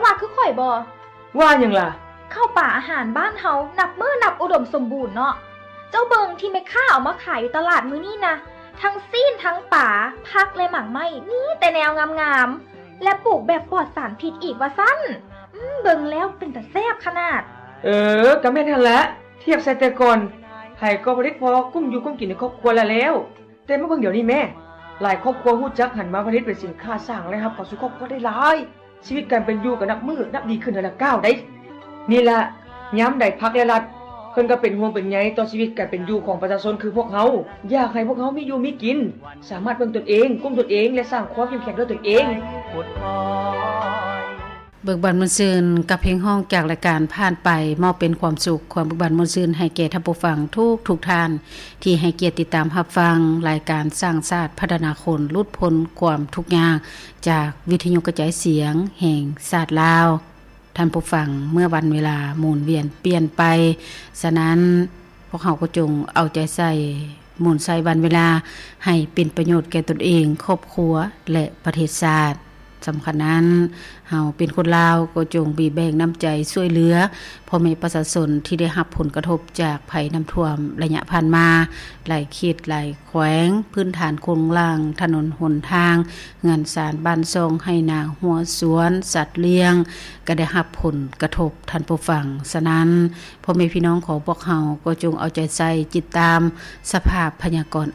ອາ ຄືຂ້ອຍບໍ? ວ່າຫຍັງລະ? ເຂົ້າປາອາຫານບ້ານເຮົານັບມື້ນັບອຸດົມສົມບູນເນາະ. ເຈົ້າເບິ່ງທີ່ແມ່ຄ້າເອົາມາຂາຍຢູ່ຕະຫຼາດມື້ນີ້ນະ, ທັງຊີ້ນທັງປາ, ຜັກ ແລະ ໝາກໄມ້ ມີແຕ່ແນວງາມໆ ແລະ ປູກແບບປອດສານພິດອີກວ່າຊັ້ນ. ອືມ ເບິ່ງແລ້ວເປັນຕາແຊບຂະໜາດ. ເອີ ກະແມ່ນຫັ້ນແຫຼະ. ທຽບໃສ່ແຕ່ກ່ອນ, ໃຜກໍຜະລິດພໍກຸ້ມຢູ່ກຸ້ມກິນໃນຄອບຄົວລະແລ້ວ. ແຕ່ມາເບິ່ງດຽວນີ້ແມ້, ຫຼາຍຄອບຄົວຮູ້ຈັກຫັນມາຜະລິດເປັນສິນຄ້າສ້າງລາຍຮັບເຂົ້າສູ່ຄອບຄົວໄດ້ຫຼາຍ. ຊີວິດການເປັນຢູ່ກໍນັບມື້ນັບດີຂຶ້ນເທື່ອລະກ້າວໃດ໋. ນີ້ລະ, ຍາມໃດພັກ ແລະ ລັດ ເພິ່ນກໍເປັນຫ່ວງເປັນໃຍຕໍ່ຊີວິດການເປັນຢູ່ຂອງປະຊາຊົນຄືພວກເຮົາ, ຢາກໃຫ້ພວກເຮົາມີຢູ່ມີກິນ, ສາມາດເບິ່ງຕົນເອງ, ກຸ້ມຕົນເອງ ແລະ ສ້າງຄວາມເຂັ້ມແຂງດ້ວຍຕົນເອງ. ເບີກບານມ່ວນຊື່ນກັບເພງຮ້ອງຈາກລາຍການຜ່ານໄປ, ມອບເປັນຄວາມສຸກ, ຄວາມເບີກບານມ່ວນຊື່ນໃຫ້ແກ່ທ່ານຜູ້ຟັງທຸກໆທ່ານ ທີ່ໃຫ້ກຽດຕິດຕາມຮັບຟັງລາຍການສ້າງຊາດພັດທະນາຄົນ ຫຼຸດພົ້ນຄວາມທຸກຍາກ ຈາກວິທະຍຸກະຈາຍສຽງແຫ່ງຊາດລາວ. ທ່ານຜູ້ຟັງ, ເມື່ອວັນເວລາໝູນວຽນປ່ຽນໄປ, ສະນັ້ນ ພວກເຮົາກໍຈົ່ງເອົາໃຈໃສ່ໝູນໃສ່ວັນເວລາໃຫ້ເປັນປະໂຫຍດແກ່ຕົນເອງ, ຄອບຄົວ ແລະ ປະເທດຊາດ. ສຳຄັນນັ້ນ, ເຮົາເປັນຄົນລາວກໍຈົ່ງບີແບ່ງນ້ຳໃຈຊ່ວຍເຫຼືອພໍ່ແມ່ປະຊາຊົນທີ່ໄດ້ຮັບຜົນກະທົບຈາກໄພນ້ຳຖ້ວມໄລຍະຜ່ານມາ. ຫຼາຍເຂດ, ຫຼາຍແຂວງ, ພື້ນຖານໂຄງລ່າງ, ຖະໜົນຫົນທາງ, ເຮືອນຊານບ້ານຊ່ອງ, ໄຮ່ນາ, ຮົ້ວສວນ, ສັດລ້ຽງ ກໍໄດ້ຮັບຜົນກະທົບ, ທ່ານຜູ້ຟັງ. ສະນັ້ນ, ພໍ່ແມ່ພີ່ນ້ອງຂອງພວກເຮົາກໍຈົ່ງເອົາໃຈໃສ່ຕິດຕາມສະພາບພະຍາກອນ